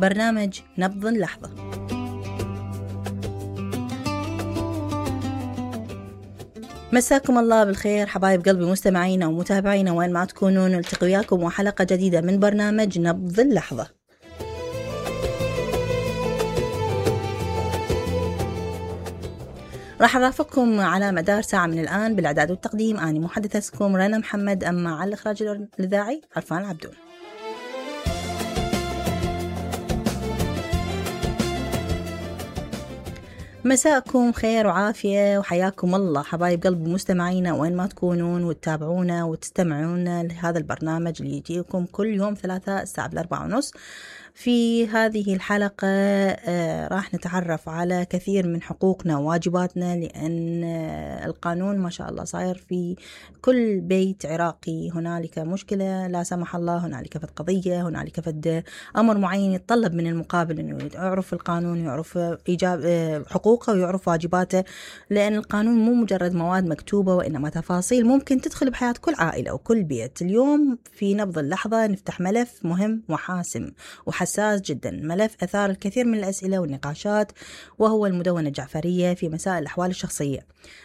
برنامج نبض اللحظة. مساكم الله بالخير حبايب قلبي، مستمعينا ومتابعينا وين ما تكونون، نلتقي وياكم وحلقة جديدة من برنامج نبض اللحظة. راح أرافقكم على مدار ساعة من الآن بالإعداد والتقديم. أنا محدثتكم رنا محمد، أما على الإخراج الإذاعي عرفان عبدون. مساءكم خير وعافية وحياكم الله حبايب قلب مستمعينا وين ما تكونون وتتابعونا وتستمعونا لهذا البرنامج اللي يجيكم كل يوم ثلاثاء الساعة 4:30. في هذه الحلقة راح نتعرف على كثير من حقوقنا وواجباتنا، لأن القانون ما شاء الله صاير في كل بيت عراقي. هنالك مشكلة لا سمح الله، هنالك فد قضية، هنالك فد أمر معين يتطلب من المقابل أنه يعرف القانون، يعرف حقوقه ويعرف واجباته، لأن القانون مو مجرد مواد مكتوبة وإنما تفاصيل ممكن تدخل بحياة كل عائلة وكل بيت. اليوم في نبض اللحظة نفتح ملف مهم وحاسم وحساس جدا، ملف أثار الكثير من الأسئلة والنقاشات، وهو المدونة الجعفرية في مسائل الأحوال الشخصية.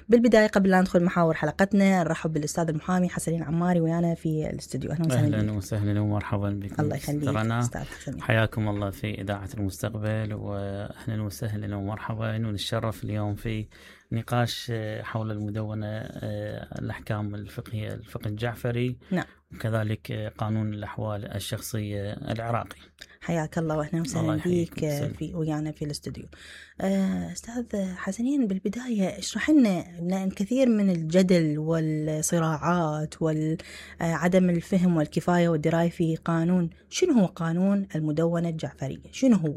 بالبداية قبل لا ندخل محاور حلقتنا نرحب بالأستاذ المحامي حسنين عماري ويانا في الاستوديو. أهلا وسهلا ومرحبا بكم. الله يخليك أستاذ حسنين، حياكم الله في إذاعة المستقبل، وأهلا وسهلا ومرحبا. ونتشرف اليوم في نقاش حول المدونة، الأحكام الفقهية الفقه الجعفري، نعم، وكذلك قانون الأحوال الشخصية العراقي. حياك الله واهلا وسهلا بك في ويانا في الاستوديو. أستاذ حسنين، بالبداية اشرح لنا، لأن كثير من الجدل والصراعات وعدم الفهم والكفاية والدراية في قانون، شنو هو قانون المدونة الجعفرية؟ شنو هو؟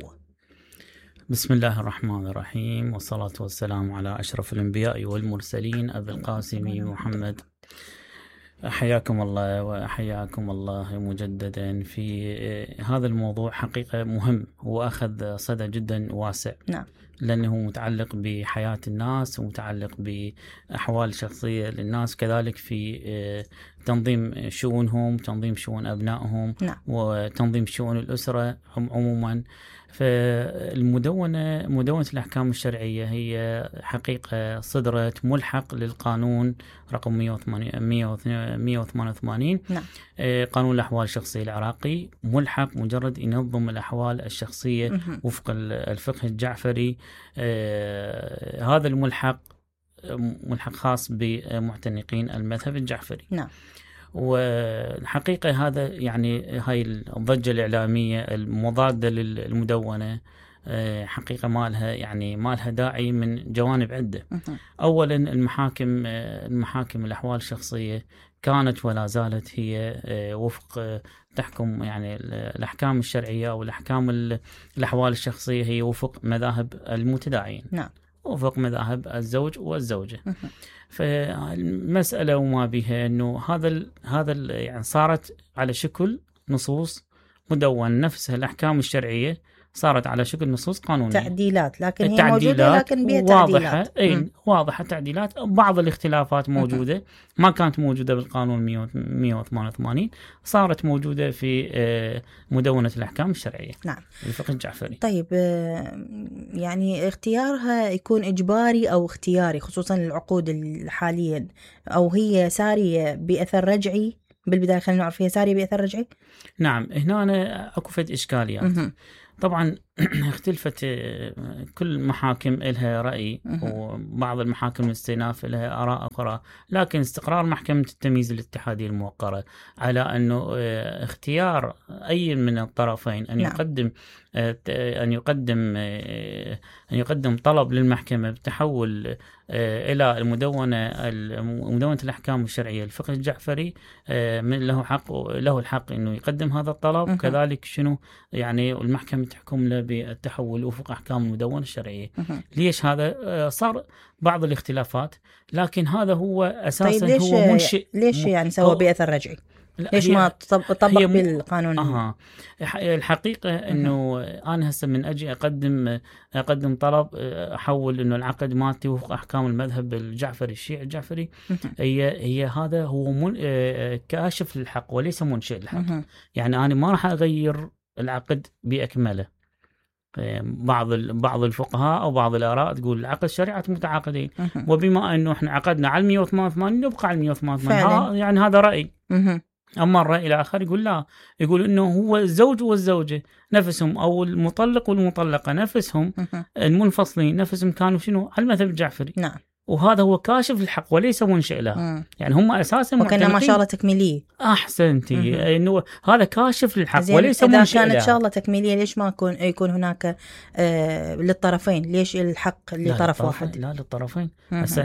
بسم الله الرحمن الرحيم، والصلاة والسلام على أشرف الأنبياء والمرسلين أبي القاسم محمد. حياكم الله وحياكم الله مجددا في هذا الموضوع. حقيقة مهم وأخذ صدى جدا واسع، نعم، لأنه متعلق بحياة الناس ومتعلق بأحوال شخصية للناس، كذلك في تنظيم شؤونهم، تنظيم شؤون أبنائهم، نعم، وتنظيم شؤون الأسرة عموما. فالمدونة، مدونة الأحكام الشرعية، هي حقيقة صدرت ملحق للقانون رقم 188، نعم، قانون الأحوال الشخصية العراقي، ملحق مجرد ينظم الأحوال الشخصية وفق الفقه الجعفري. هذا الملحق ملحق خاص بمعتنقين المذهب الجعفري، نعم. والحقيقة هذا يعني هاي الضجة الإعلامية المضادة للمدونة حقيقة ما لها داعي من جوانب عدة. أولا، المحاكم الأحوال الشخصية كانت ولا زالت هي وفق تحكم يعني الأحكام الشرعية أو الأحكام الأحوال الشخصية هي وفق مذاهب المتداعين، نعم، وفق مذاهب الزوج والزوجة. فالمسألة وما بها أنه هذا يعني صارت على شكل نصوص مدون، نفسها الأحكام الشرعية صارت على شكل نصوص قانونية، تعديلات، لكن هي موجودة لكن بها واضحة، واضحة تعديلات. بعض الاختلافات موجودة ما كانت موجودة بالقانون 188، صارت موجودة في مدونة الأحكام الشرعية، نعم، الفقه الجعفري. طيب، يعني اختيارها يكون إجباري أو اختياري، خصوصا العقود حاليا، أو هي سارية بأثر رجعي؟ بالبداية خلينا نعرف، هي سارية بأثر رجعي؟ نعم، هنا أكو فد إشكاليات. طبعا اختلفت كل محاكم لها رأي، وبعض المحاكم الاستئناف لها آراء أخرى، لكن استقرار محكمة التمييز الاتحادية الموقرة على أنه اختيار أي من الطرفين أن يقدم طلب للمحكمة بتحول إلى مدونة الأحكام الشرعية الفقه الجعفري، له الحق إنه يقدم هذا الطلب، كذلك شنو يعني المحكمة تحكم له بالتحول وفق أحكام المدونة الشرعية. ليش هذا صار بعض الاختلافات، لكن هذا هو أساسا طيب هو منشئ. ليش يعني سوى بأثر رجعي؟ ليش ما طبق بالقانون؟ الحقيقة انه انا هسه من اجي اقدم طلب احول انه العقد مالتي وفق احكام المذهب الجعفري الشيعي الجعفري، هي هذا هو كاشف للحق وليس منشئ للحق. يعني انا ما راح اغير العقد باكمله، بعض الفقهاء أو بعض الآراء تقول العقد شريعة متعاقدين، وبما أنه إحنا عقدنا على 188 نبقى على 188. يعني هذا رأي. أما الرأي الآخر يقول لا، يقول إنه هو الزوج والزوجة نفسهم، أو المطلق والمطلقة نفسهم، المنفصلين نفسهم كانوا شنو على المذهب الجعفري. نعم. وهذا هو كاشف الحق وليس منشئ له. يعني هم أساسا وكان ما شاء تكميلية. أحسنتي، إنه هذا كاشف للحق وليس منشئ له. إذا كانت شغلة تكميلية ليش ما يكون هناك للطرفين؟ ليش الحق لطرف واحد؟ لا، للطرفين.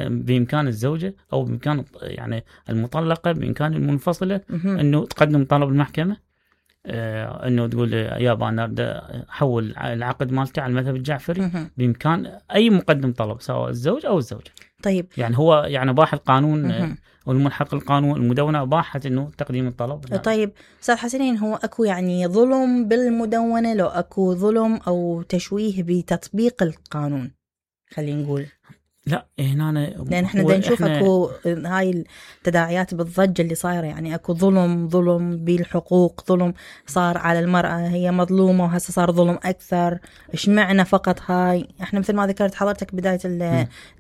بإمكان الزوجة أو بإمكان يعني المطلقة، بإمكان المنفصلة إنه تقدم طلب المحكمة، انه تقول يابا انا بدي احول العقد مالتي على المذهب الجعفري. بامكان اي مقدم طلب سواء الزوج او الزوجه. طيب يعني هو يعني اباح القانون والملحق القانون المدونه اباحت انه تقديم الطلب. طيب استاذ حسنين، هو اكو يعني ظلم بالمدونه لو اكو ظلم او تشويه بتطبيق القانون خلينا نقول؟ لا هنا لأن احنا دا نشوف اكو هاي التداعيات بالضجة اللي صايرة، يعني اكو ظلم بالحقوق، ظلم صار على المرأة، هي مظلومة وهسه صار ظلم أكثر. إيش معنى فقط هاي؟ احنا مثل ما ذكرت حضرتك بداية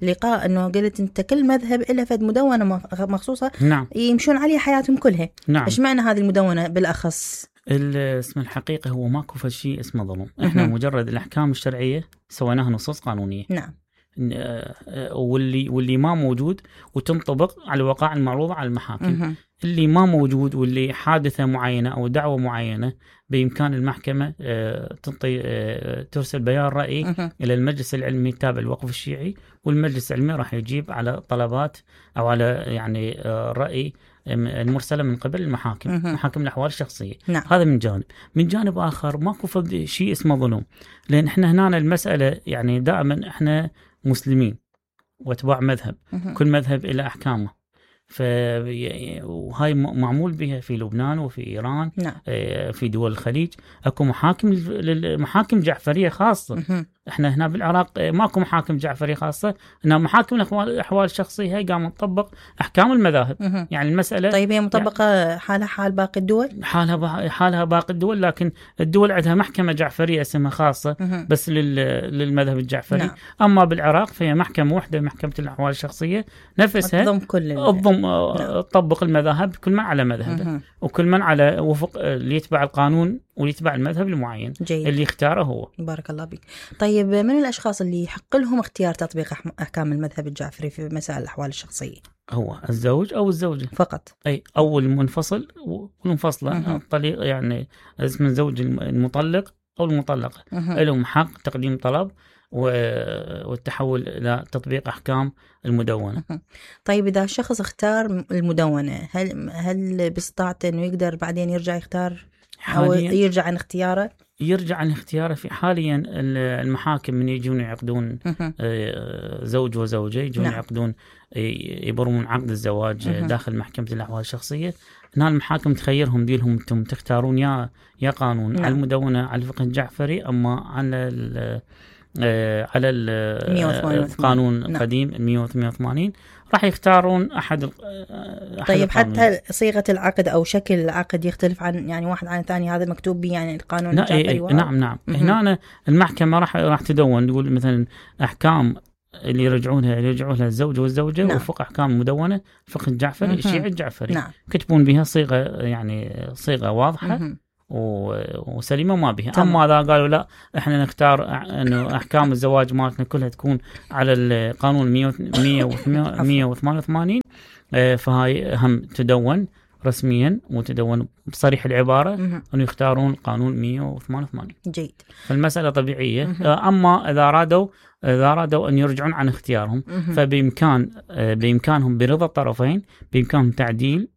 اللقاء انه قلت انت كل مذهب إله فد مدونة مخصوصة. نعم. يمشون عليها حياتهم كلها. نعم. إيش معنى هذه المدونة بالأخص؟ اسم الحقيقة هو ماكو فشي اسمه ظلم. احنا مجرد الأحكام الشرعية سويناها نصوص قانونية. نعم. واللي ما موجود وتنطبق على الوقائع المعروضة على المحاكم. اللي ما موجود واللي حادثة معينة أو دعوة معينة بإمكان المحكمة ترسل بيان رأي إلى المجلس العلمي التابع للوقف الشيعي، والمجلس العلمي راح يجيب على طلبات أو على يعني رأي المرسلة من قبل المحاكم، محاكم الأحوال الشخصية. نعم. هذا من جانب آخر ماكو شيء اسمه ظلم، لأن إحنا هنا المسألة يعني دائما إحنا مسلمين واتباع مذهب، كل مذهب إلى أحكامه، وهاي معمول بها في لبنان وفي إيران. نعم. في دول الخليج اكو محاكم جعفرية خاصة. احنا هنا بالعراق ماكو محاكم جعفرية خاصة، هنا محاكم الأحوال الشخصية هي قامت تطبق أحكام المذاهب. يعني المسألة طيب هي مطبقة يعني حالها حال باقي الدول؟ حالها باقي الدول، لكن الدول عندها محكمة جعفرية اسمها خاصة بس للمذهب الجعفري. نعم. أما بالعراق فهي محكمة واحدة، محكمة الأحوال الشخصية نفسها تطبق المذاهب كل من على مذهبه، وكل من على وفق اللي يتبع القانون ويتبع المذهب المعين. جيد. اللي اختاره هو. بارك الله بك. طيب من الأشخاص اللي يحق لهم اختيار تطبيق أحكام المذهب الجعفري في مسائل الأحوال الشخصية؟ هو الزوج أو الزوجة فقط. أو المنفصل والمنفصلة. الطليق يعني اسم الزوج المطلق أو المطلقة لهم حق تقديم طلب والتحول إلى تطبيق أحكام المدونة. طيب إذا الشخص اختار المدونة، هل باستطاعته إنه يقدر بعدين يرجع يختار أو يرجع عن اختياره؟ يرجع عن اختياره. في حاليا المحاكم من يجون يعقدون زوج وزوجة، يجون يعقدون يبرمون عقد الزواج داخل محكمة الأحوال الشخصية. هنا المحاكم تخيرهم ديلهم انتم تختارون يا قانون على المدونة على الفقه الجعفري، أما على القانون القديم 188 راح يختارون أحد. طيب حتى صيغة العقد أو شكل العقد يختلف عن يعني واحد عن الثاني، هذا مكتوب به يعني القانون الجعفري؟ نعم. هنا المحكمة راح تدون تقول مثلا أحكام اللي يرجعوا لها الزوج والزوجة. نعم. وفق أحكام مدونة فقه الجعفري الشيعي الجعفري. نعم. كتبون بها صيغة واضحة وسليمة ما بها. أما إذا قالوا لا إحنا نختار إنه أحكام الزواج مالتنا كلها تكون على القانون 188 فهاي هم تدون رسميا وتدون بصريح العبارة أنه يختارون القانون 188. جيد. فالمسألة طبيعية. أما إذا أرادوا أن يرجعون عن اختيارهم بإمكانهم برضا الطرفين بإمكانهم تعديل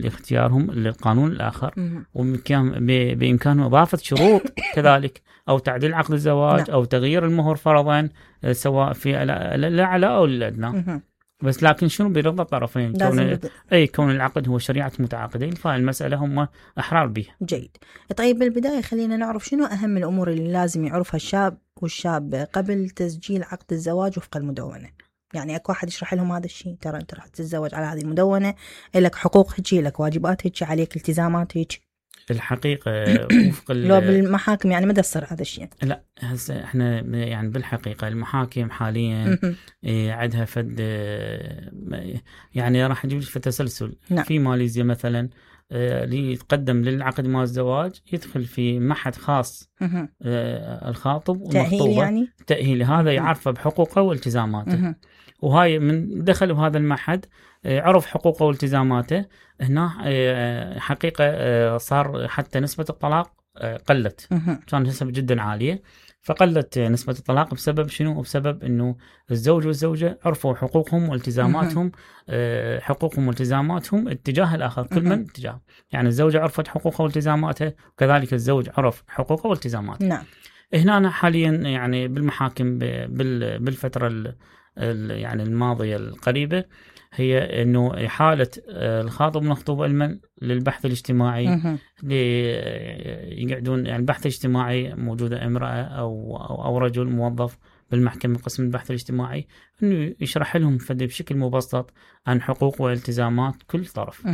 اختيارهم للقانون الآخر، وبإمكانهم إضافة شروط كذلك أو تعديل عقد الزواج أو تغيير المهر فرضا سواء في الأعلى أو الأدنى. بس لكن شنو برضا الطرفين، كون العقد هو شريعة متعاقدين، فالمسألة هم أحرار بها. جيد. طيب بالبداية خلينا نعرف شنو أهم الأمور اللي لازم يعرفها الشاب والشابة قبل تسجيل عقد الزواج وفق المدونة. يعني اكو واحد يشرح لهم هذا الشيء، ترى انت راح تتزوج على هذه المدونة، لك حقوق هيك، لك واجبات هيك، عليك التزامات هيك. الحقيقة وفق لو بالمحاكم يعني ما يصير هذا الشيء. لا هسه احنا يعني بالحقيقة المحاكم حاليا عندها فد يعني راح نجيب لك في تسلسل. نعم. في ماليزيا مثلا اللي يتقدم للعقد مع الزواج يدخل في معهد خاص الخاطب والمخطوبة يعني؟ تأهيل، هذا يعرفه بحقوقه والتزاماته. وهاي من دخل بهذا المعهد عرف حقوقه والتزاماته. هنا حقيقة صار حتى نسبة الطلاق قلت، كانت نسبة جدا عالية، فقلت نسبة الطلاق بسبب شنو؟ بسبب انه الزوج والزوجة عرفوا حقوقهم والتزاماتهم، حقوقهم والتزاماتهم اتجاه الاخر، كل من اتجاه. يعني الزوجة عرفت حقوقها والتزاماتها، وكذلك الزوج عرف حقوقه والتزاماته. نعم. هنا حاليا يعني بالمحاكم بالفترة يعني الماضية القريبة هي انه حالة الخاطب والمخطوبة المن للبحث الاجتماعي، يقعدون يعني البحث الاجتماعي موجودة امرأة او رجل موظف بالمحكمة قسم البحث الاجتماعي، انه يشرح لهم بشكل مبسط عن حقوق والتزامات كل طرف.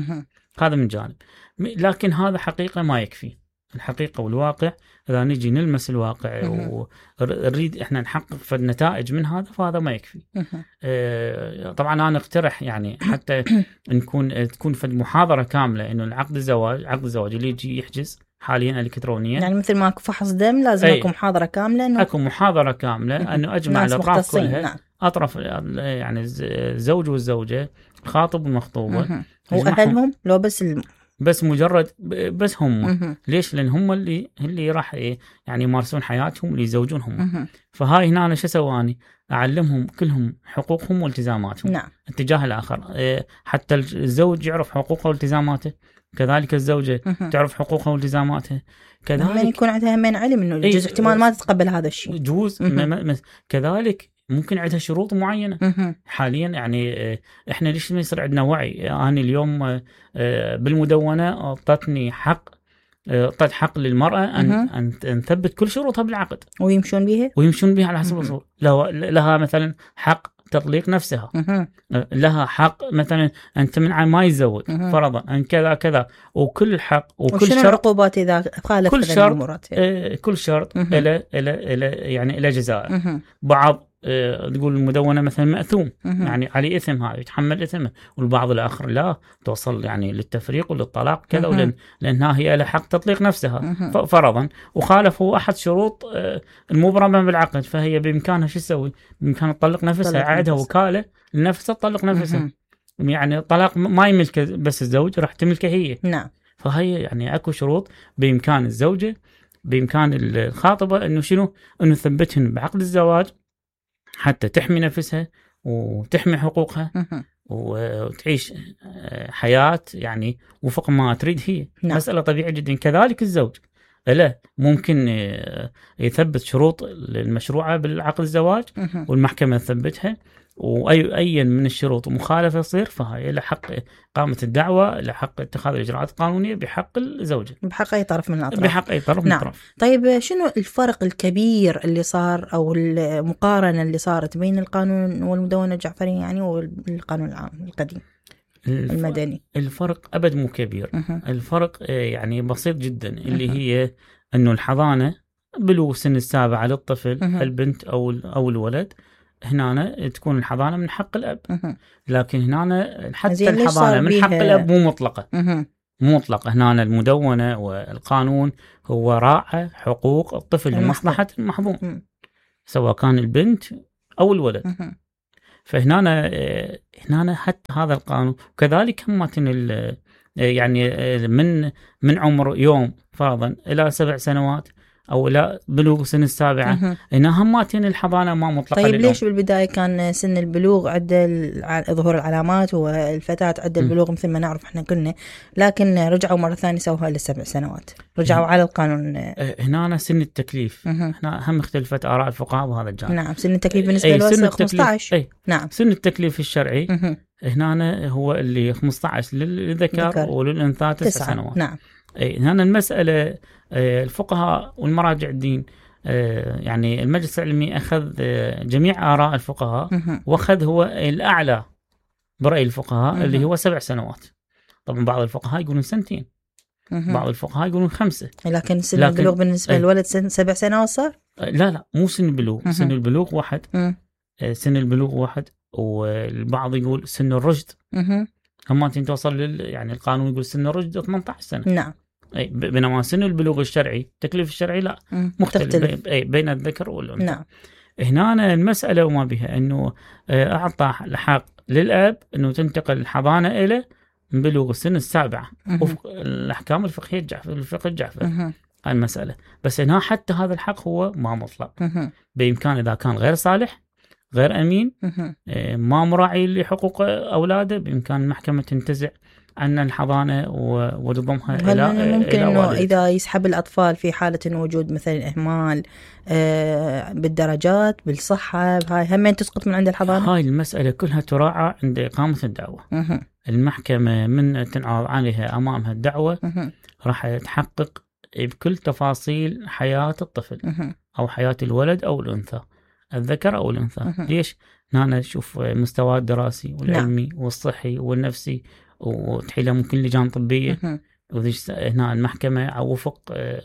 هذا من جانب. لكن هذا حقيقة ما يكفي. الحقيقة والواقع إذا نجي نلمس الواقع ونريد إحنا نحقق في النتائج من هذا، فهذا ما يكفي. طبعا أنا أقترح يعني حتى تكون في محاضرة كاملة إنه عقد الزواج اللي يجي يحجز حاليا إلكترونيا، يعني مثل ما فحص دم لازم أكون محاضرة كاملة، إنه أكون محاضرة كاملة إنه أجمع الأطراف كلها. نعم. أطراف يعني الزوج والزوجة، الخاطب والمخطوبة، وأهلهم لو بس مجرد بس هم. ليش؟ لأن هم اللي راح يعني يمارسون حياتهم، اللي يزوجون هم. فهاي هنا أنا شو سواني؟ أعلمهم كلهم حقوقهم والتزاماتهم. نعم. اتجاه الآخر، حتى الزوج يعرف حقوقه والتزاماته، كذلك الزوجة تعرف حقوقها والتزاماتها، كذلك يكون عندها من علم إنه الجزء احتمال ما تتقبل هذا الشيء، جوز كذلك ممكن عندها شروط معينة. حاليا يعني احنا ليش ما يصير عندنا وعي؟ أنا اليوم بالمدونة أعطتني حق للمرأة أن تثبت كل شروطها بالعقد ويمشون بها على حسب الأصول. لها مثلا حق تطليق نفسها، لها حق مثلا أن تمنع ما يتزوج فرضا، أن كذا كذا، وكل حق وكل شرط. العقوبات إذا خالف كل شرط إلى يعني إلى جزاء. بعض تقول المدونة مثلا مأثوم، يعني عليه إثم، هاي يتحمل إثمه، والبعض الآخر لا، توصل يعني للتفريق وللطلاق كذا، لأنها هي لها حق تطليق نفسها فرضا، وخالفوا أحد شروط المبرمة بالعقد، فهي بإمكانها شو تسوي؟ بإمكانها تطلق نفسها، عندها وكالة لنفسها تطلق نفسها. يعني الطلاق ما يملك بس الزوج، راح تملكه هي. نعم. فهي يعني أكو شروط بإمكان الزوجة، بإمكان الخاطبة إنه شنو؟ إنه تثبتهن بعقد الزواج حتى تحمي نفسها وتحمي حقوقها وتعيش حياة يعني وفق ما تريد هي. نعم. مسألة طبيعية جدا. كذلك الزوج لا ممكن يثبت شروط المشروعة بالعقد الزواج والمحكمة تثبتها، وأي من الشروط مخالفة يصير، فهي له حق إقامة الدعوة، له حق اتخاذ الإجراءات القانونية بحق الزوجة، بحق أي طرف من الأطراف. بحق أي طرف من الأطراف. طيب شنو الفرق الكبير اللي صار أو المقارنة اللي صارت بين القانون والمدونة الجعفرية يعني والقانون العام القديم المدني؟ الفرق أبد مو كبير. الفرق يعني بسيط جدا، اللي هي أنه الحضانة بلوغ سن السابعة للطفل البنت أو الولد، هنا تكون الحضانة من حق الأب. لكن هنا حتى الحضانة من حق الأب مو مطلقة. هنا المدونة والقانون هو راعى حقوق الطفل لمصلحة المحظون، سواء كان البنت أو الولد. فهنا حتى هذا القانون، وكذلك هم يعني من عمر يوم فرضا إلى 7 سنوات أو لا بلوغ سن السابعة، إنها هماتين الحضانة ما مطلقة. طيب ليش بالبداية كان سن البلوغ عند ظهور العلامات والفتاة عند البلوغ مثل ما نعرف احنا كلنا، لكن رجعوا مرة ثانية سووها ل7 سنوات، رجعوا على القانون. هنا سن التكليف، هنا هم اختلفت آراء الفقهاء بهذا الجانب. نعم، سن التكليف بالنسبة للوسط 15. نعم، سن التكليف الشرعي هنا هو اللي 15 للذكر وللأنثى 9 سنوات. نعم. هنا المسألة الفقهاء والمراجع الدين، يعني المجلس العلمي أخذ جميع آراء الفقهاء، وأخذ هو الأعلى برأي الفقهاء اللي هو 7 سنوات. طبعا بعض الفقهاء يقولون 2 سنين، بعض الفقهاء يقولون 5. لكن سن البلوغ بالنسبة للولد 7 سنوات صار؟ لا مو سن البلوغ. سن البلوغ 1. سن البلوغ 1. والبعض يقول سن الرشد. هم توصل يعني القانون يقول سن الرشد 18 سنة. نعم. بينما سن البلوغ الشرعي التكليف الشرعي لا مختلف بين الذكر والأنثى. نعم. هنا المسألة وما بها أنه أعطى الحق للأب أنه تنتقل الحضانة إلى من بلوغ السن 7 وفق الأحكام الفقهية الفقه الجعفري. هاي المسألة. بس هنا حتى هذا الحق هو ما مطلق. بإمكان إذا كان غير صالح غير أمين ما مراعي لحقوق أولاده بإمكان المحكمة تنتزع عن الحضانة وتضمها إلى ممكن إنه إذا يسحب الأطفال في حالة إنه وجود مثلا إهمال بالدرجات بالصحة هاي همين تسقط من عند الحضانة. هاي المسألة كلها تراعى عند إقامة الدعوة. المحكمة من تنعرض عليها أمامها الدعوة راح تحقق بكل تفاصيل حياة الطفل أو حياة الولد أو الأنثى الذكر أو الأنثى. ليش؟ هنا نشوف مستواه الدراسي والعلمي والصحي والنفسي وتحيله ممكن لجان طبية. هنا المحكمة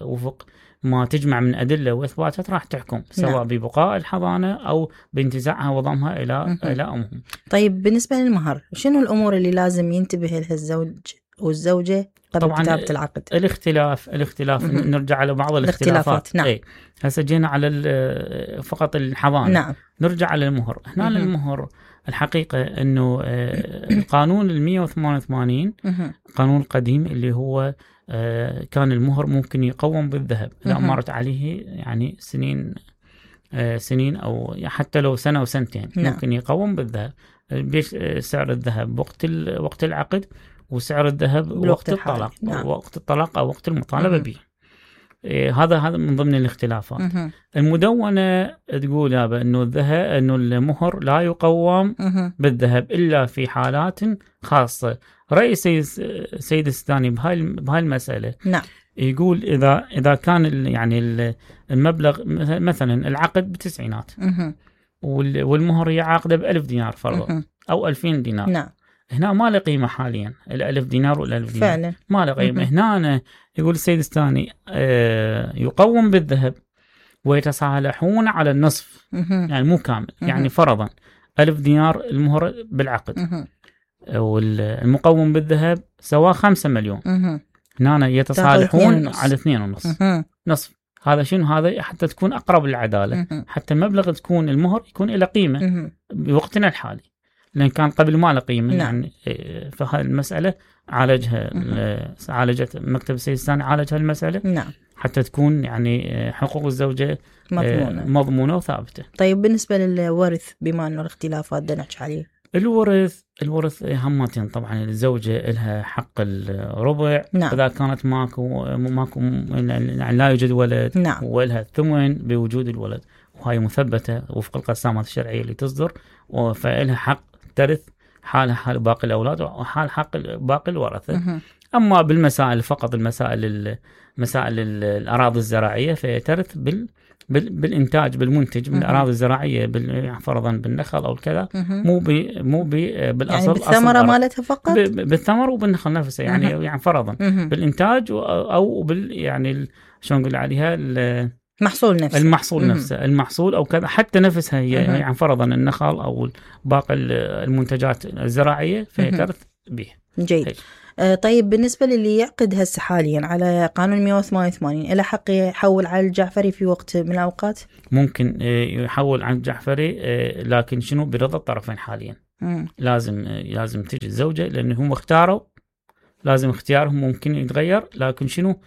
وفق ما تجمع من أدلة وإثباتات راح تحكم سواء ببقاء الحضانة أو بانتزاعها وضمها إلى أمهم. طيب بالنسبة للمهر شنو الأمور اللي لازم ينتبه لها الزوج والزوجة قبل كتابة العقد؟ الاختلاف نرجع على بعض الاختلافات. نعم. هسه جينا على فقط الحضانة. نعم. نرجع على المهر. هنا المهر الحقيقة أنه القانون 188 قانون قديم اللي هو كان المهر ممكن يقوم بالذهب إذا مرت عليه يعني سنين أو حتى لو سنة أو سنتين. ممكن يقوم بالذهب بسعر الذهب وقت العقد وسعر الذهب وقت الطلاق. وقت الطلاق أو وقت المطالبة به. هذا من ضمن الاختلافات. المدونة تقول أنه أنه المهر لا يقوم بالذهب إلا في حالات خاصة. رأي سيد السيستاني بهاي المسألة. نعم. يقول إذا كان يعني المبلغ مثلا العقد ب90 والمهر يعاقده ب1000 دينار فرضا أو 2000 دينار. نعم. هنا ما له قيمة حاليا 1000 دينار ولا 1000 دينار فعلا ما له قيمة. هنا يقول السيد الثاني يقوم بالذهب ويتصالحون على النصف يعني مو كامل. يعني فرضا 1000 دينار المهر بالعقد والمقوم بالذهب سوا 5 مليون. هنا يتصالحون على 2.5 نصف. هذا شنو؟ هذا حتى تكون أقرب للعدالة حتى المبلغ تكون المهر يكون إلى قيمة بوقتنا الحالي لأن كان قبل ما له قيمة. يعني فهذه المسألة عالجت مكتب السيد الثاني عالج هالمسألة. حتى تكون يعني حقوق الزوجة مضمونة وثابتة. طيب بالنسبة للورث بما أنه الاختلافات بدنا نحكي عليه. الورث همتين طبعا. الزوجة لها حق الربع. إذا كانت ماكو يعني لا يوجد ولد. ولها الثمن بوجود الولد وهي مثبتة وفق القسامات الشرعية اللي تصدر فإلها حق ترث حالها حال باقي الأولاد وحال حق باقي الورثة. أما بالمسائل فقط مسائل الأراضي الزراعية فهي ترث بالإنتاج بالمنتج من الأراضي الزراعية فرضا بالنخل أو كذا مو بالأصل. يعني بالثمرة مالتها فقط بالثمر وبالنخل نفسه يعني فرضا بالإنتاج أو يعني شلون نقول عليها المحصول نفسه المحصول أو كذا حتى نفسها هي يعني فرضا النخل أو باقي المنتجات الزراعية فهي ترث به. جيد. طيب بالنسبة للي يعقد هسه حاليا على قانون 188 إلى حق يحول على الجعفري في وقت من الأوقات؟ ممكن يحول عن الجعفري لكن شنو برضا الطرفين حاليا. لازم تجي الزوجة لأنه هم اختاروا لازم اختيارهم ممكن يتغير لكن شنو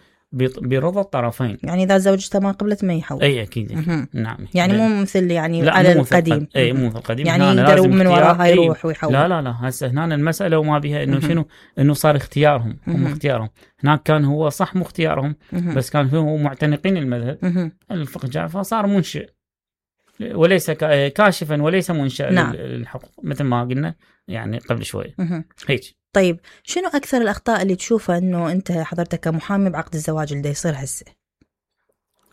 برضا الطرفين. يعني إذا زوجته ما قبلت ما يحول. أي أكيد. نعم. يعني مو مثل يعني على القديم. مو مثل القديم. يعني يقدروا من وراها يروح ويحول. لا هسه هنا المسألة وما بها إنه شنو إنه صار اختيارهم هم اختيارهم. هناك كان هو صح مو اختيارهم بس كان هو معتنقين المذهب الفقه الجعفري صار منشئ وليس كاشفا وليس منشئ للحقوق مثل ما قلنا يعني قبل شوي. هيك. طيب شنو أكثر الأخطاء اللي تشوفها أنه أنت حضرتك كمحامي بعقد الزواج اللي يصير هسه؟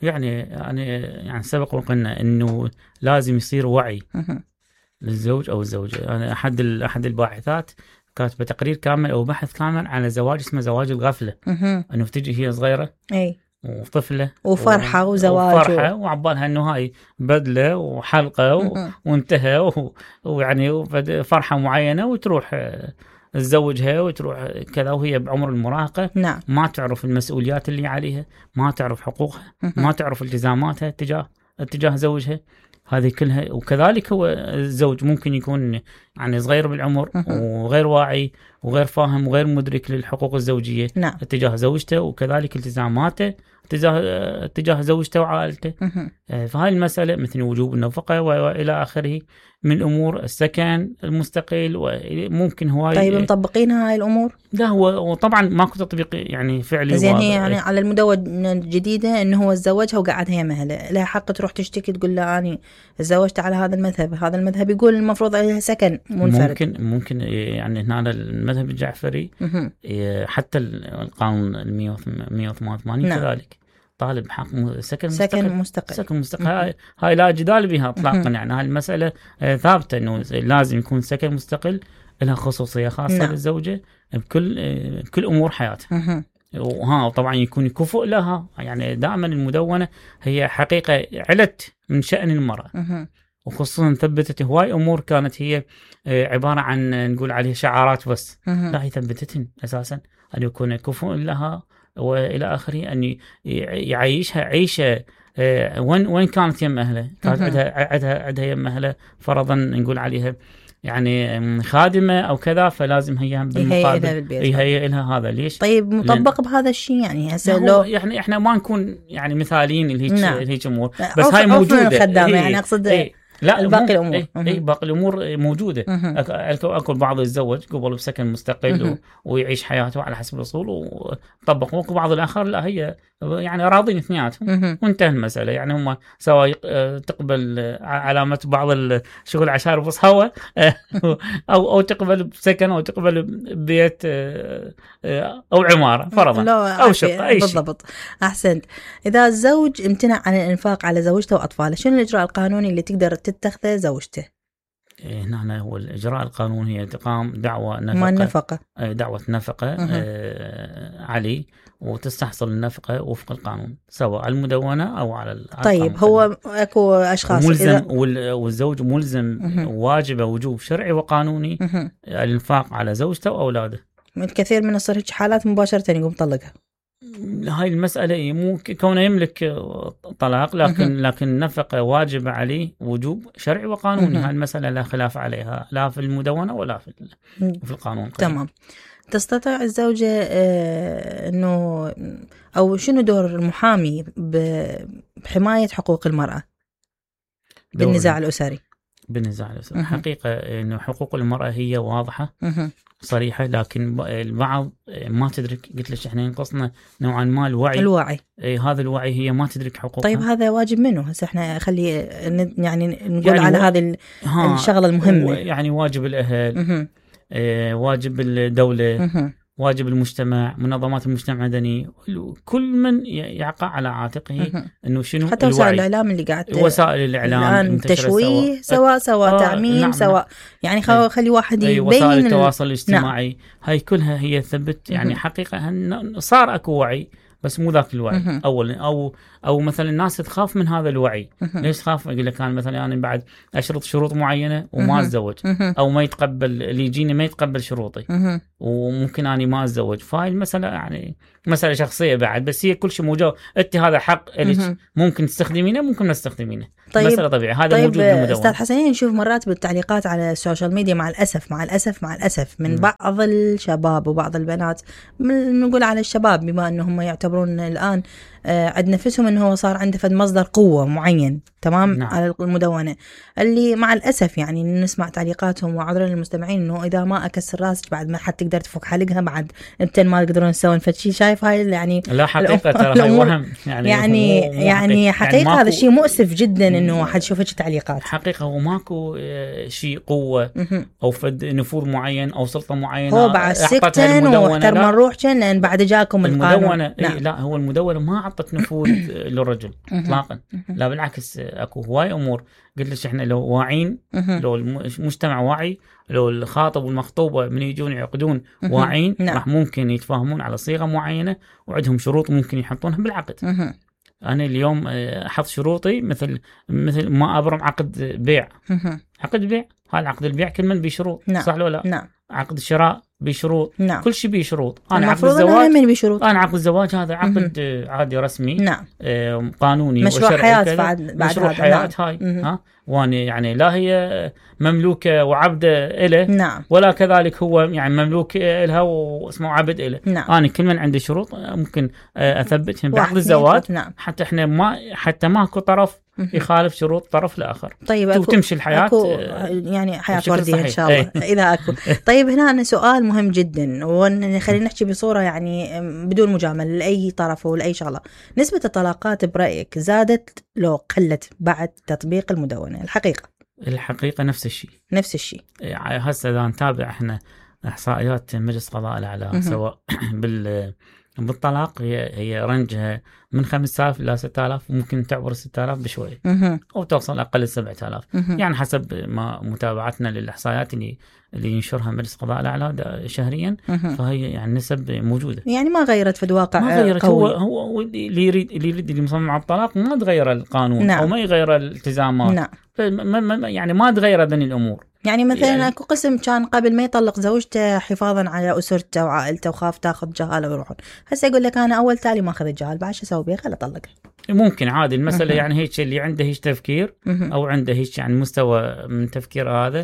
يعني سبق وقلنا إنه لازم يصير وعي للزوج أو الزوجة. أنا أحد الباحثات كاتبه تقرير كامل او بحث كامل على زواج اسمه زواج الغفله. انه تجي هي صغيره وطفله وفرحه وزواج وفرحه وعبالها انه هاي بدله وحلقه وانتهى ويعني فرحه معينه وتروح تزوجها وتروح كذا وهي بعمر المراهقه. نعم. ما تعرف المسؤوليات اللي عليها، ما تعرف حقوقها، ما تعرف التزاماتها تجاه زوجها، هذه كلها. وكذلك هو الزوج ممكن يكون يعني صغير بالعمر وغير واعي وغير فاهم وغير مدرك للحقوق الزوجيه. نعم. تجاه زوجته وكذلك التزاماته تجاه زوجته وعائلته. فهاي المسألة مثل وجوب النفقة وإلى آخره من أمور السكن المستقل وممكن هواي. طيب مطبقين هاي الأمور؟ لا هو طبعا ماكو تطبيق يعني فعلي. زين هي يعني على المدونة الجديدة إنه هو تزوجها وقعدها هي مهله، لها حق تروح تشتكي تقول له أنا تزوجت على هذا المذهب، هذا المذهب يقول المفروض عليها سكن منفرد. ممكن يعني هنا المذهب الجعفري حتى القانون 188 نعم. كذلك طالب حق سكن مستقل. هاي لا جدال بها اطلاقا. يعني هاي المسألة ثابتة انه لازم يكون سكن مستقل، لها خصوصية خاصة. نعم. للزوجة بكل امور حياتها. وطبعا يكون كفؤ لها. يعني دائما المدونة هي حقيقة علت من شأن المرأة، وخصوصا ثبتت هواي امور كانت هي عبارة عن نقول عليها شعارات بس. لا هي ثبتتهن اساسا ان يكون كفؤ لها والى اخره، ان يعيشها عيشه وين كانت يم اهله. كانت عندها يم اهله فرضا نقول عليها يعني خادمه او كذا، فلازم هي بالمقابل هي لها هذا. ليش؟ طيب مطبق بهذا الشيء يعني هسه لو يعني احنا ما نكون يعني مثاليين لهيك امور، بس هاي موجوده الخدامه. يعني اقصد لا باقي الامور باقي الامور موجوده. اكو بعض يتزوج قبل بسكن مستقل ويعيش حياته على حسب الاصول وطبق. بعض الاخر لا هي يعني راضين اثنيناتهم وانتهى المساله. يعني هم سواء تقبل علامه بعض الشغل عشان بص هوا او تقبل بسكن او تقبل ببيت او عماره فرضا او شقه اي شيء. بالضبط. احسنت. اذا الزوج امتنع عن الانفاق على زوجته واطفاله، شنو الاجراء القانوني اللي تقدر تتخذه زوجته؟ هنا هو الإجراء القانوني هي تقام دعوة نفقة عليه، وتستحصل النفقة وفق القانون سواء على المدونة أو على طيب هو أكو أشخاص ملزم والزوج ملزم واجب وجوب شرعي وقانوني الإنفاق على زوجته وأولاده. الكثير من الصور حالات مباشرة يقوم طلقها. هاي المسألة مو كونه يملك طلاق، لكن النفقة واجب عليه وجوب شرعي وقانوني. هاي المسألة لا خلاف عليها لا في المدونة ولا في القانون. تمام. تستطيع الزوجة أنه أو شنو دور المحامي بحماية حقوق المرأة بالنزاع الأسري؟ حقيقة أنه حقوق المرأة هي واضحة صريحة، لكن البعض ما تدرك. قلت لك احنا ينقصنا نوعا ما الوعي. هذا الوعي هي ما تدرك حقوقها. طيب هذا واجب منه هسه احنا خلي يعني نقول على هذه الشغلة المهمة. يعني واجب الأهل، واجب الدولة، واجب المجتمع، منظمات المجتمع المدني، كل من يقع على عاتقه انه شنو حتى وسائل الاعلام اللي قاعد وسائل الاعلام الان تشويه سواء تعميم نعم. سواء يعني خلي واحد يبين وسائل التواصل الاجتماعي نعم. هاي كلها هي ثبت يعني حقيقة صار اكو وعي بس مو ذاك الوعي اولا او مثلا الناس تخاف من هذا الوعي. ليش تخاف؟ يقول لك انا مثلا يعني بعد اشرط شروط معينه وما اتزوج، او ما يتقبل اللي يجيني ما يتقبل شروطي وممكن اني ما اتزوج. فهاي المساله يعني مساله شخصيه بعد، بس هي كل شيء موجود. انت هذا حق لك، ممكن تستخدمينه ممكن ما تستخدمينه. طيب مساله طبيعي. هذا موجود بالمدونه. استاذ حسنين نشوف مرات بالتعليقات على السوشيال ميديا مع الاسف من بعض الشباب وبعض البنات، نقول على الشباب بما انهم يعتبرون الان عند نفسهم انه هو صار عنده مصدر قوه معين تمام نعم. على المدونه اللي مع الاسف يعني نسمع تعليقاتهم وعذرا للمستمعين انه اذا ما اكسر راسك بعد ما حد تقدر تفك حلقها بعد انتن ما تقدرون تسوون فشي. شايف هاي يعني لا حقيقه ترى هاي وهم يعني حقيقه يعني هذا الشيء مؤسف جدا انه حد يشوف تعليقات. حقيقه هو ماكو شيء قوه او فد نفوذ معين او سلطه معينه هو بعد سكتن واحترم نروح لان بعد جاكم القانون نعم. لا هو المدونه ما اعطت نفوذ للرجل اطلاقا. لا بالعكس، اكو هواي امور قلت لك احنا لو واعين، لو المجتمع واعي، لو الخاطب والمخطوبه من يجون يعقدون واعين، راح ممكن يتفاهمون على صيغه معينه وعندهم شروط ممكن يحطونها بالعقد. انا اليوم احط شروطي مثل ما ابرم عقد بيع. عقد بيع، هذا عقد البيع كل من بشروط، صح ولا لا؟ عقد الشراء بشروط، كل شيء بشروط. انا عقد الزواج، انا عقد الزواج هذا عقد عادي رسمي، قانوني مشروع وشرعي حياة بعد مشروع حياة هاي وانا يعني لا هي مملوكه وعبده له، ولا كذلك هو يعني مملوك لها واسمه عبد له. انا كل من عندي شروط ممكن اثبتهم بعقد الزواج، حتى احنا حتى ماكو طرف يخالف شروط طرف الاخر. طيب وتمشي الحياه يعني حياه ورديه ان شاء الله اذا اكو. طيب هنا سؤال مهم جدا، وخلينا نحكي بصوره يعني بدون مجامله لاي طرف ولاي شغله. نسبه الطلاقات برايك زادت لو قلت بعد تطبيق المدونه؟ الحقيقه نفس الشيء. هسه اذا نتابع احنا احصائيات مجلس قضاء الاعلى سواء بالطلاق هي رنجها من 5000 إلى 6000، وممكن تعبر 6000 بشوية أو توصل أقل 7000 يعني حسب ما متابعتنا للإحصائيات اللي ينشرها مجلس قضاء الأعلى شهريا. فهي يعني نسب موجودة، يعني ما غيرت في الواقع، ما غيرت. قوي. هو اللي يريد اللي مصمم على الطلاق ما تغير القانون أو ما يغير الالتزامات، يعني ما تغير ذني الأمور. يعني مثلا اكو قسم كان قبل ما يطلق زوجته حفاظا على اسرته وعائلته وخاف تاخذ جهاله ويروحون، هسه يقول لك انا اول تالي ما اخذ الجهال، بعد شو اسوي بيه؟ خلي اطلقه. ممكن عادي المساله يعني هيك اللي عنده هيك تفكير او عنده هيك يعني مستوى من تفكير هذا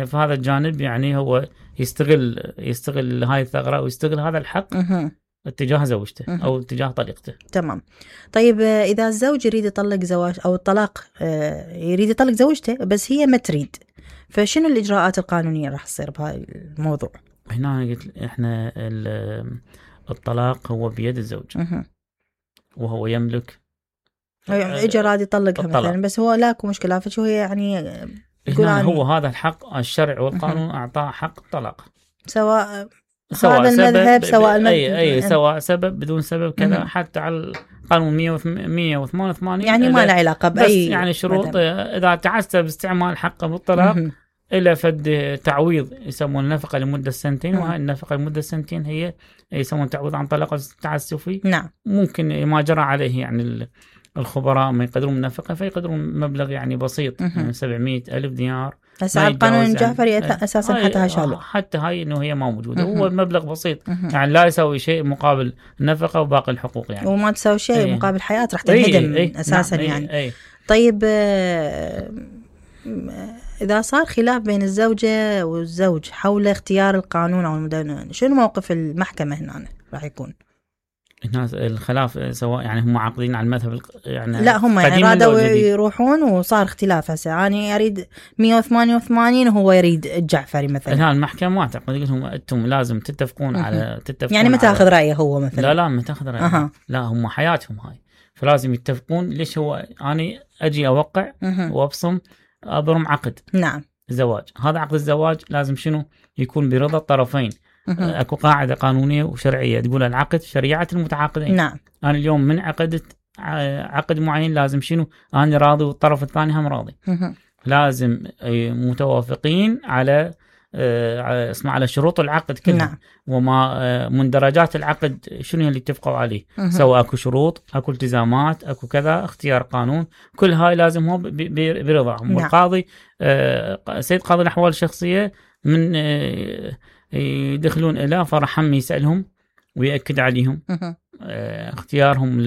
فهذا الجانب يعني هو يستغل هاي الثغره ويستغل هذا الحق اتجاه زوجته او اتجاه طليقته. تمام. طيب اذا الزوج يريد يطلق زواج او الطلاق يريد يطلق زوجته بس هي ما تريد، فشنو الإجراءات القانونية راح تصير بهاي الموضوع؟ هنا قلت احنا الطلاق هو بيد الزوج وهو يملك اجى راد يطلقها مثلا، بس هو لاكو مشكلة، فشو هي يعني هو هذا الحق الشرع والقانون أعطاه حق الطلاق، سواء هذا المذهب سواء أي سواء سبب بدون سبب كذا، حتى على القانون 188 يعني ما له علاقة بأي، بس يعني شروط إذا تعسر باستعمال حقه بالطلاق إلى فد تعويض يسمون النفقة لمدة 2 وهي النفقة لمدة 2 هي يسمون تعويض عن طلاق التعسفي. ممكن ما جرى عليه يعني الخبراء ما يقدرون النفقة فيقدرون مبلغ يعني بسيط يعني 700,000 دينار. هسه القانون الجعفري أساسا حتى هشاله، حتى هاي إنه هي ما موجودة، هو مبلغ بسيط يعني لا يسوي شيء مقابل النفقة وباقي الحقوق يعني، وما تسوي شيء مقابل حياة راح تنهدم أساسا يعني. طيب إذا صار خلاف بين الزوجة والزوج حول اختيار القانون أو المدونة، شنو موقف المحكمة هنا راح يكون؟ الناس الخلاف سواء يعني هم عاقدين على المذهب يعني لا هم يعني رادوا يروحون وصار اختلاف. هسه يعني أريد 188 وهو يريد الجعفري مثلا، الآن المحكمة ما تعقد لهم أنتم لازم تتفقون على يعني ما تاخذ رأيه هو مثلا، لا ما تاخذ رأيه لا هم حياتهم هاي، فلازم يتفقون. ليش هو أنا أجي أوقع وأبصم أبرم عقد زواج، هذا عقد الزواج لازم شنو يكون برضا الطرفين. اكو قاعده قانونيه وشرعيه تقول العقد شريعه المتعاقدين. انا اليوم من عقدت عقد معين لازم شنو انا راضي والطرف الثاني هم راضي. لازم متوافقين على على شروط العقد كلها وما مندرجات العقد شنو اللي اتفقوا عليه، سواء اكو شروط اكو التزامات اكو كذا اختيار قانون، كل هاي لازم هو برضاهم. والقاضي سيد قاضي الاحوال الشخصيه من يدخلون إلى فرحهم يسألهم ويأكد عليهم اختيارهم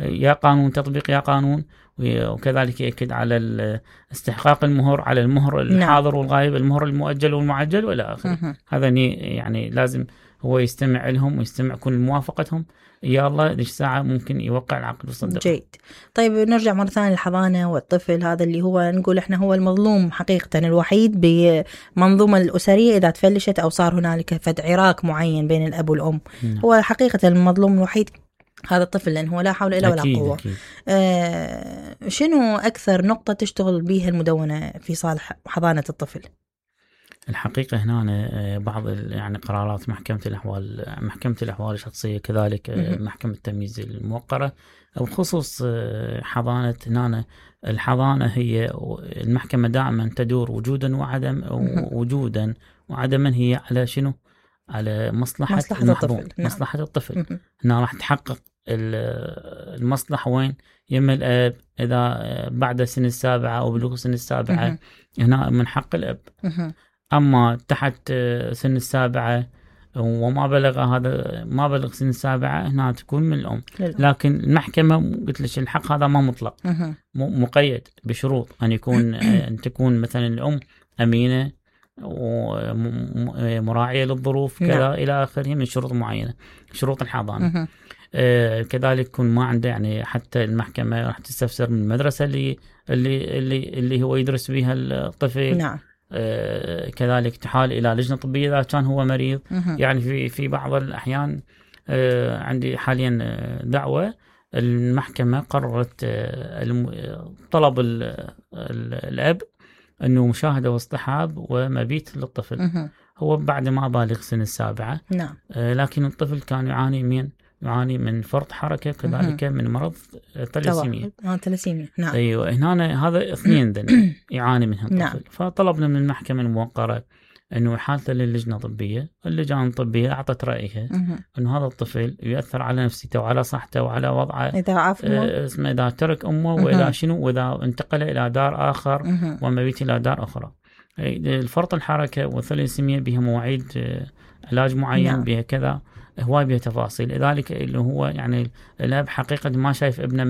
يا قانون تطبيق يا قانون، وكذلك يأكد على استحقاق المهر على المهر الحاضر والغائب، المهر المؤجل والمعجل وإلى آخره. هذا يعني لازم هو يستمع لهم ويستمع كل موافقتهم، يا الله ليش ساعة ممكن يوقع العقد ويصدق. جيد. طيب نرجع مرة ثانية للحضانة والطفل هذا اللي هو نقول احنا هو المظلوم حقيقة الوحيد بمنظومة الأسرية إذا تفلشت أو صار هنالك فد عراك معين بين الأب والأم. هو حقيقة المظلوم الوحيد هذا الطفل، لأن هو لا حول إلا ولا قوة. شنو أكثر نقطة تشتغل بيها المدونة في صالح حضانة الطفل؟ الحقيقة هنا بعض يعني قرارات محكمة الأحوال الشخصية كذلك محكمة التمييز الموقرة بخصوص حضانة. هنا الحضانة هي المحكمة دائما تدور وجودا وعدما هي على شنو؟ على مصلحة المحظوظ، مصلحة الطفل. هنا راح تحقق المصلحة وين؟ يم الأب إذا بعد سن 7 أو بلوغ سن 7 هنا من حق الأب. أما تحت سن 7 وما بلغ سن 7 هنا تكون من الأم. لكن المحكمة قلت لك الحق هذا ما مطلق، مقيد بشروط أن يكون أن تكون مثلا الأم أمينة ومراعية للظروف كذا إلى آخره من شروط معينة، شروط الحضانة. كذلك يكون ما عنده يعني حتى المحكمة راح تستفسر من المدرسة اللي هو يدرس بها الطفل. نعم. كذلك تحال إلى لجنة طبية إذا كان هو مريض. يعني في بعض الأحيان عندي حاليا دعوة المحكمة قررت طلب الأب أنه مشاهدة واصطحاب ومبيت للطفل هو بعد ما بالغ سن 7. نعم. لكن الطفل كان يعاني من فرط حركة كذلك من مرض ثلاسيميا. نعم. أيوة هنا هذا اثنين يعاني منها الطفل. نعم. فطلبنا من المحكمة الموقرة أنه حالته للجنة الطبية. اللجنة الطبية أعطت رأيها أنه هذا الطفل يؤثر على نفسيته وعلى صحته وعلى وضعه إذا ترك أمه وإذا وإذا انتقل إلى دار آخر ومبيت إلى دار أخرى. الفرط الحركة والثلاسيميا بها مواعيد علاج معين. نعم. بها كذا هواي بها تفاصيل. لذلك اللي هو يعني الأب حقيقة ما شايف ابنه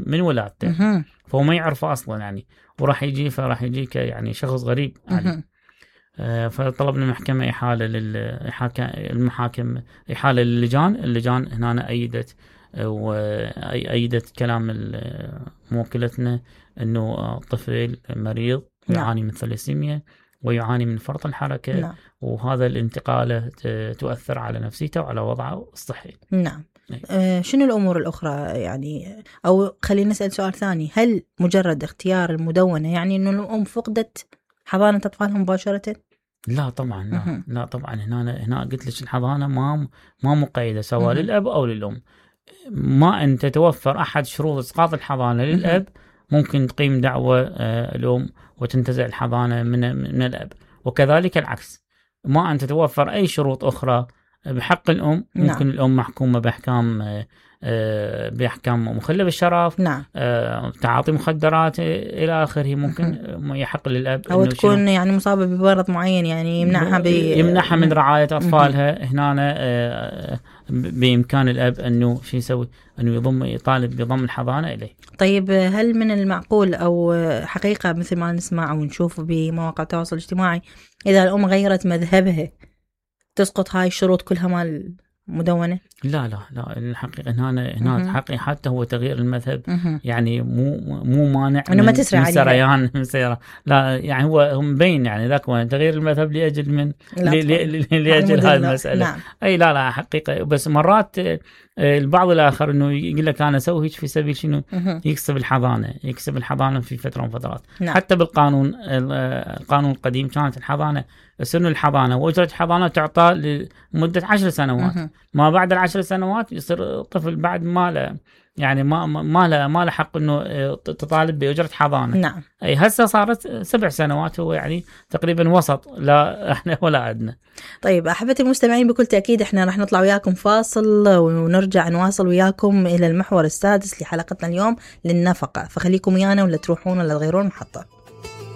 من ولادته، فهو ما يعرفه أصلا يعني، وراح يجي يعني شخص غريب عليه. فطلبنا المحكمة إحالة اللجان هنا أيدت كلام موكلتنا أنه طفل مريض يعاني من ثلاسيميا ويعاني من فرط الحركة. نعم. وهذا الانتقالة تؤثر على نفسيته وعلى وضعه الصحي. نعم. شنو الأمور الأخرى يعني؟ أو خلينا نسأل سؤال ثاني، هل مجرد اختيار المدونة يعني أنه الأم فقدت حضانة أطفالها مباشرة؟ لا طبعا. لا طبعا. هنا قلت لك الحضانة ما مقيدة سواء للأب أو للأم. ما أن تتوفر أحد شروط إسقاط الحضانة للأب ممكن تقيم دعوة الأم وتنتزع الحضانة من الأب، وكذلك العكس. ما أن تتوفر أي شروط أخرى بحق الأم ممكن. نعم. الأم محكومة بأحكام مخلة بالشرف. نعم. تعاطي مخدرات إلى آخره ممكن يحق للأب أو تكون يعني مصابة بمرض معين يعني يمنعها من رعاية أطفالها. هنا بإمكان الأب أنه شو يسوي؟ أنه يطالب بضم الحضانة إليه. طيب هل من المعقول أو حقيقة مثل ما نسمع ونشوف بمواقع التواصل الاجتماعي إذا الأم غيرت مذهبها تسقط هاي الشروط كلها مال مدونة؟ لا الحقيقة هنا حقيقة حتى هو تغيير المذهب يعني مو مانع من سريان لا يعني هو مبين يعني ذاك تغيير المذهب لأجل لأجل هذه المسألة. نعم. أي لا حقيقة. بس مرات البعض الآخر إنه يقول لك أنا أسوي هيك في سبيل شنو؟ يكسب الحضانة في فترة من فترات. نعم. حتى القانون القديم كانت الحضانة سن الحضانة وأجرة الحضانة تعطى لمدة 10 سنوات. ما بعد 10 سنوات يصير الطفل بعد ما له يعني ما له حق انه تطالب بأجرة حضانة. نعم. اي هسه صارت 7 سنوات، هو يعني تقريبا وسط، لا احنا ولا أدنى. طيب احبتي المستمعين، بكل تأكيد احنا راح نطلع وياكم فاصل ونرجع نواصل وياكم الى المحور السادس لحلقتنا اليوم للنفقة، فخليكم ويانا ولا تروحون ولا تغيرون محطة.